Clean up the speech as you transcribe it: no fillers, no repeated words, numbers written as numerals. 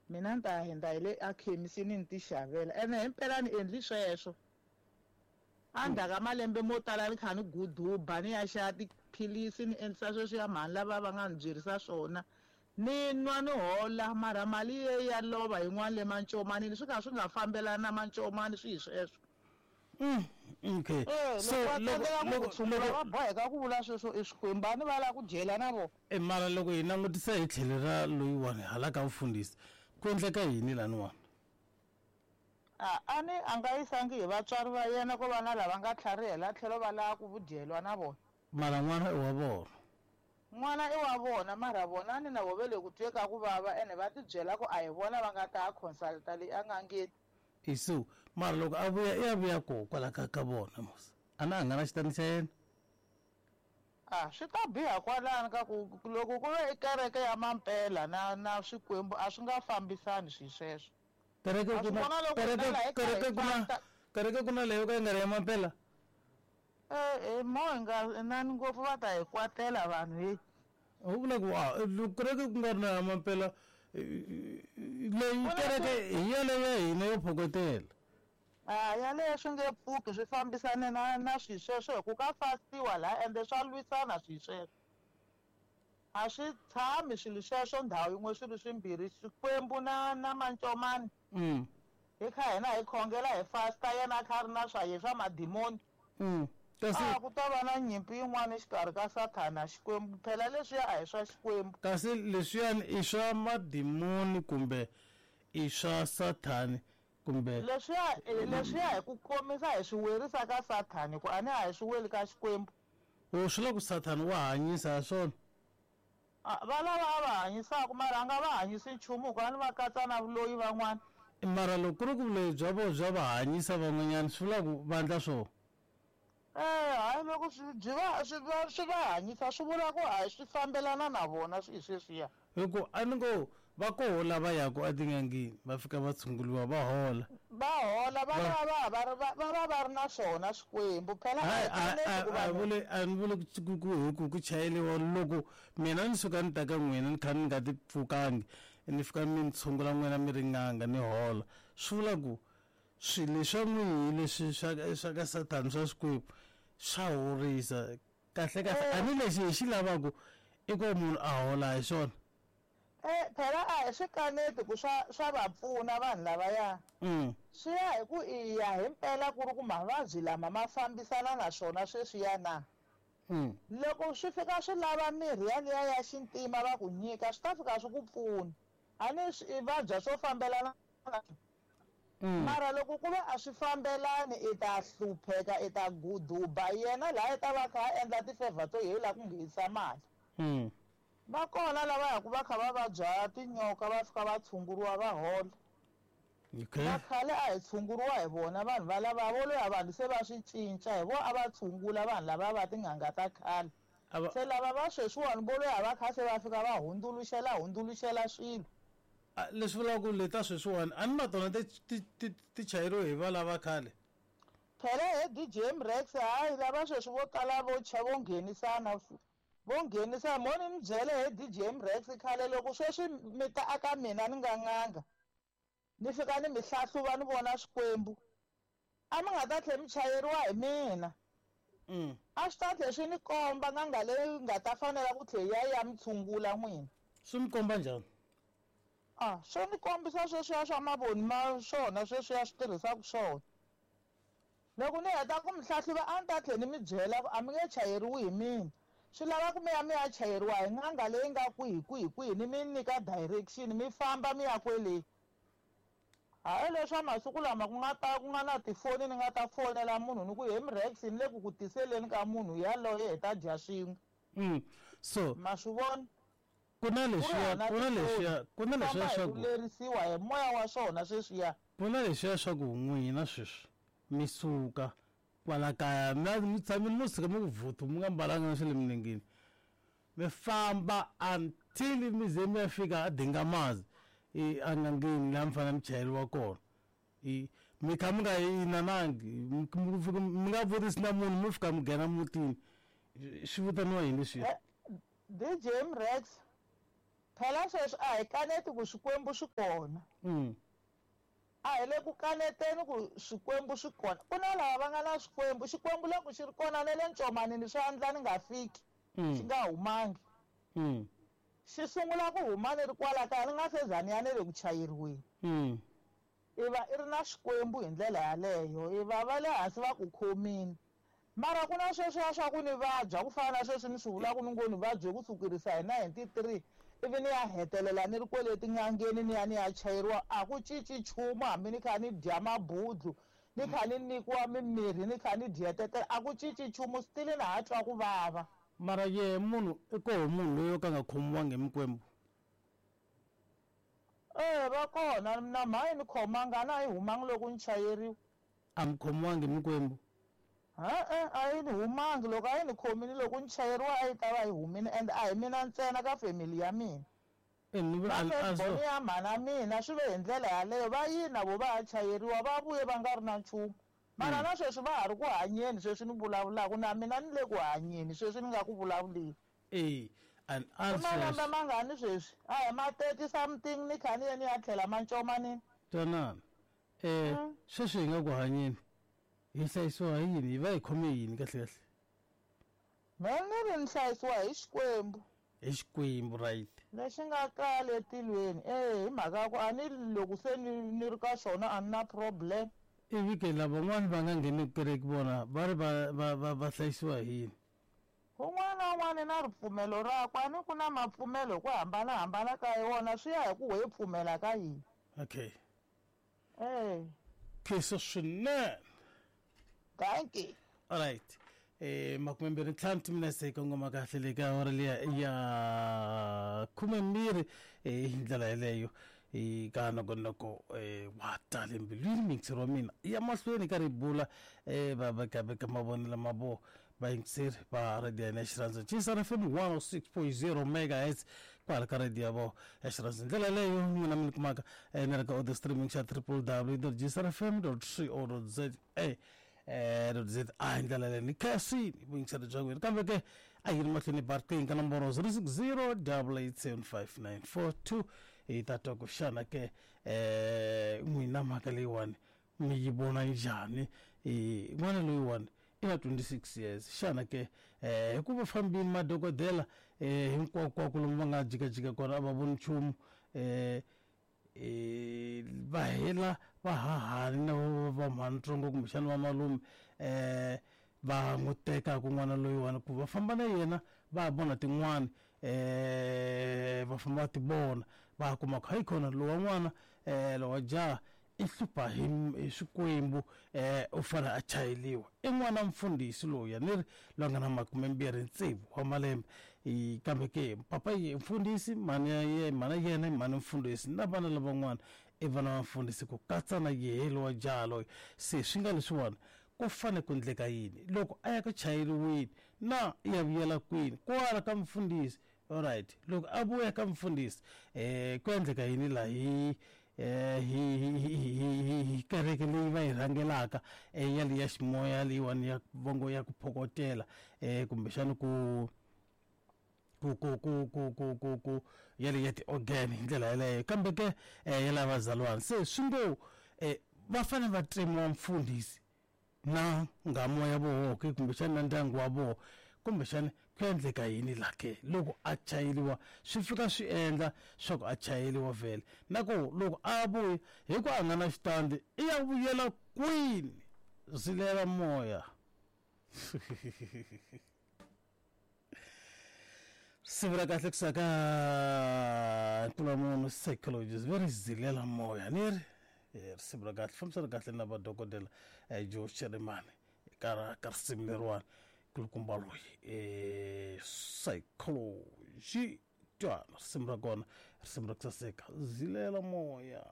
Mina ni ta ya hundza hi le akhemisini ni ti xavela ene himpela ni endli sweswo. Endzhaku ka malembe mo tala ni kha ni guduba ni ya xava tiphilisi ni endlisa sweswiya mhani lava va nga ni byerisa swona ni nwa ni hola mara mali ye ya lova yin'wana le mancomanini swi kha swi nga fambelani na mancomani swi hi sweswo. Okay. Eh, So loko va loko tsandzeka ku ku loko tshungula loko va boheka ku vula sweswo i swikwembu a ni va lava ku dyela na vona. E mara loko hi langutisa hi tlhelo ra loyiwani hala ka mfundhisi ku endleka yini laniwani? A a ni a nga yisangi hi vatswari va yena ko va na lava nga tlharihela tlhelo va lava ku vudyelwa na vona. Mara n'wana i wa vona. N'wana i wa vona mara vona a ni na vo ve le ku twe ka ku vava ene va ti byela ku a hi vona va nga ta ya consulta leyi a n'angeni. I so mara loko a vuya i ya vuya koho kwala ka ka vona mos a na a nga na xitandi xa yena. A swi ta biha kwalano ka ku loko ku ve i kereke ya mampela na na swikwembu a swi nga fambisani swi sweswo. Kereke Wa ku swi na vona loko hina kereke laha ekaya kereke hi ku na fasta kereke ku na leyo ka yi nga ri ya mampela. E mo hi nga inani ngopfu va ta hi kwatela vanhu heyi. U vula ku a loko kereke ku nga ri na ya mampela leyi Ku na kereke swi hi yaleyo ya hina yo phokotela. A yaleyo swi nge pfuki swi fambisane na na swi sweswo hi ku ka fastiwa laha ende swa lwisana swi sweswo. A swi tshami swilo sweswo ndhawu yin'we swilo swimbirhi Xikwembu na na mancomani. Hi kha hina hi khongela hi fasta yena a kha a ri na swa ye swa madimoni. Kasi A ku ta va na nyimpi yin'wana exikarhi ka Sathana na Xikwembu phela leswiya a hi swa Xikwembu. Kasi leswiyani i swa madimoni kumbe i swa Sathani kumbe Leswiya leswiya hi ku komisa hi swi werisa ka Sathani ku a ni a hi swi weli ka Xikwembu. O swi vula ku Sathani wa hanyisa ha swona? A va lava a va hanyisaka mara a nga va hanyisi nchumu hikuva a ni va katsa na vuloyi van'wana. Mara loko ku ri ku vuloyi bya vona bya va hanyisa van'wanyana swi vula ku va endla swona? Eh, hayi loko swi byi va swi va swi va hanyisa swi vula ku hayi swi fambelana na vona swi sweswiya. Hi ku a ni ngo va koho lava yaka etin'angeni va fika va tshunguriwa va hola. Va hola va va va va ri va va va ri na swona swikwembu phela a Hayi hi a kaneti a ku a vanhu vuli a ni vuli ku ku hi ku ku chayeliwa loko mina ni suka ni ta ka n'wina ni kha ni nga ti pfukangi ni fika mi ni tshungula n'wina mi ri n'anga ni hola swi vula ku swilo leswa n'wihi leswi swa swa ka sathana swa xikwembu swa horisa kahle kahle a eh ni lexi hi xi lavaku i ku munhu a hola hi swona. Eh phela a hi swi kaneti ku swa swa va pfuna vanhu lavaya. Swi ya hi ku i ya himpela ku ri ku mavabyi lama ma fambisana na swona sweswiya na. Loko swi fika swi lava mirhi yaliya ya xintima va ku nyika swi ta fika swi ku pfuna. A ni swi i vabya swo fambelana na mara loko ku ve a swi fambelani i ta hlupheka i ta guduba yena laya i ta va a kha a endla ti-favour to yena u lava ku nghenisa mali. Va kona lava yaku va kha va vabya tinyoka va fika va tshunguriwa va hola. Okay. Na khale a hi tshunguriwa hi vona vanhu valava vo loya vanhu se va swi cinca hi vo a va tshungula vanhu lava va tin'anga ta khale. A va Se lava va sweswiwani vo loya va kha se va fika va hundzuluxela hundzuluxela swilo. A leswi vulaka ku leta sweswiwani a ni na tona ti ti ti ti chayeriwe hi valava khale. Phela he DJ Mrex hayi lava sweswi vo tala vo cha vo nghenisana vo nghenisa mo ni mi byele he DJ Mrex khale loko sweswi mi ta aka mina ni nga n'anga ni fika ni mi hlahluva ni vona swikwembu a mi nga ta tlhe mi chayeriwa hi mina. A swi ta tlhe swi ni komba n'anga leyi nga ta fanela ku tlhe ya ya mi tshungula n'wina. Swi mi komba njhani? A swo ni kombisa sweswiya swa mavoni ma swona sweswiya swi tirhisaka swona. Loko ni heta ku mi hlahluva a ni ta tlhe ni mi byela ku a mi nge chayeriwi hi mina. Swi lava ku mi ya mi ya chayeriwa hi n'anga leyi nga kwihi kwihi kwihi ni mi nyika direction mi famba mi ya kwele. Hayi leswa masiku lama ku nga ta ku nga na tifoni ni nga ta fonela munhu ni ku he Mrex ni le ku ku tiseleni ka munhu yaloye hi ta dya swin'we. So Ma swi vona? ku na Ku ri leswiya hava ku na tifoni leswiya ku na famba leswiya hi swa ku ku lerisiwa hi moya wa swona sweswiya. ku na leswiya swa ku n'wina sweswi mi suka kwala kaya mi mi tshamile mo suka mi ku vhuthu mi nga mbalanga na swa le milengeni mi famba until mi ze mi ya fika a Dingamazi i en'angeni laha mi fanele mi chayeriwa kona i mi kha mi nga inanangi mi fika mi nga vutisi na munhu mi fika mi nghena mutini swi vitaniwa yini leswiya? DJ Mrex Phela sweswi a hi kaneti ku swikwembu swi kona. A hi le ku kaneteni ku swikwembu swi kona. Ku na lava va nga na swikwembu. Xikwembu loko xi ri kona na le ncomanini swi endla ni nga fiki, xi nga humangi. Xi sungula ku huma ni ri kwala kaya ni nga se za ni ya ni le ku chayeriweni. I va i ri na Xikwembu hi ndlela yaleyo. I va va le hansi va ku khomile. Mara ku na sweswiya swa ku ni vabya ku fana na sweswi ni swi vulaka ni ngo ni vabye ku sukerisa hi 93 ivi ni ya hetelela ni ri kwele tin'angeni ni ya ni ya chayeriwa a ku cinci nchumu hambi ni kha ni dya mabudlu ni kha ni nyikiwa mimirhi ni kha ni dyetetela a ku cinci nchumu still na ha twa ku vava. Mara yehe munhu i koho munhu loyi o ka a nga khomiwangi hi mikwembu? E va kona na mha yi ni khomanga a na yi humangi loko ni chayeriwa. A mi khomiwangi hi mikwembu? E-e, a yi ni humangi. Loko a yi ni khomile loko ni chayeriwa a yi ta va yi humile and a hi mina ntsena ka family ya mina. Na first-born ya mhana mina swi ve hi ndlela yaleyo, va yini na vo va ya chayeriwa va vuye va nga ri na nchumu. Mara na sweswi va ha ri ku hanyeni sweswi ni vulavulaka na mina ni le ku hanyeni sweswi ni nga ku vulavuleni. E, and I malembe mangani sweswi? A hi ma 30 something ni kha ni ye ni ya tlhela mancomanini. Twanana. Sweswi hi nga ku hanyeni hi hlayisiwa hi yini? Hi va hi khome yini kahle kahle? Mehe ni ri ni hlayisiwa hi Xikwembu. Hi Xikwembu, right. Lexi nga kale etilweni. E, hi mhaka ya ku a ni loko se ni ni ri ka xona a ni na problem. Ivi ke lavan'wani va nga ngheneki kereke vona va ri va va va va hlayisiwa hi yini? Un'wana na un'wana na ripfumelo rakwe, a ni ku na mapfumelo hi ku hambanahambana ka wona swi ya hi ku wehe pfumela ka yini. Okay. E. Khensa swinene. Dankie. Alright. 25 timinetse hi kongoma kahle le ka awara liya ya 12 hi ndlela yeleyo ka nongonoko wa tale mbilwini miyingiseri wa mina ya mahlweni ka ri bula va vekaveka mavonelo ma vo vayingiseri va radio ya hina ya xirhandzu Chisana FM 106.0 megahertz kwala ka radio ya vo ya xirhandzu hi ndlela yaleyo n'wina mi ni kumaka ni ri ka audio streaming xa www gsrfm co za za hi ndlela leyi ni khensini vuyingiseri bya n'wina kambe ke a yi ri mahlweni barking ka nomboro 060 8875942 hi ta twa ku xana ke n'wina mhaka leyiwani mi yi vona njhani. N'wana loyiwani i na 26 years xana ke hikuva fambini madokodela hinkwakwako lomu va nga jikajika kona a va voni nchumu va hela va hahani na va mhanitsongo kumbexana va malume va n'wi tekaka n'wana loyiwani ku va famba na yena va ya vona tin'wani va famba va ti vona va kuma ku hayikhona lowa n'wana lowa jaha i hlupha hi hi swikwembu u fanele a chayeliwa. I n'wana mfundhisi loyi ni ri loyi a nga na 26 wa malembe kambe ke papa ye mfundhisi mhani ya ye mhana yena i mhani mfundhisi na vana lavan'wana i vana va mfundhisi ku katsa na yehe lowa jaha loyi. Se swi nga leswiwani ku fane ku endleka yini loko a ya ku chayeriweni na i ya vuyela kwini kwala ka mfundhisi? Alright loko a vuya ka mfundhisi ku endleka yini la hi hi hi hi hi kereke leyi va yi rhangelaka ya leyi ya ximoya leyiwani ya vongo ya ku phokotela kumbexana ku ku ku ku ku ku ku ku ya leyi ya ti-organ hi ndlela yaleyo kambe ke ya lava vazalwana se swi ngo va fanele va tsemiwa mfundhisi na nghamu ya voho ke kumbexana na ndyangu wa voho kumbexana ku endleka yini la ke loko a chayeliwa swi fika swi endla swa ku a chayeliwa vhele na ku loko a vuya hi ku a nga na xitandi i ya vuyela kwini zilela moya. Siku ra kahle kusuka ka Ntulamunhu psychologist va ri zilela moya ni ri risimu ra kahle fambisana kahle na vadokodela Joe Shirimani ka ka risimu leriwani kulukumba loyi psychology twana risimu ra kona risimu ra ku saseka zilela moya.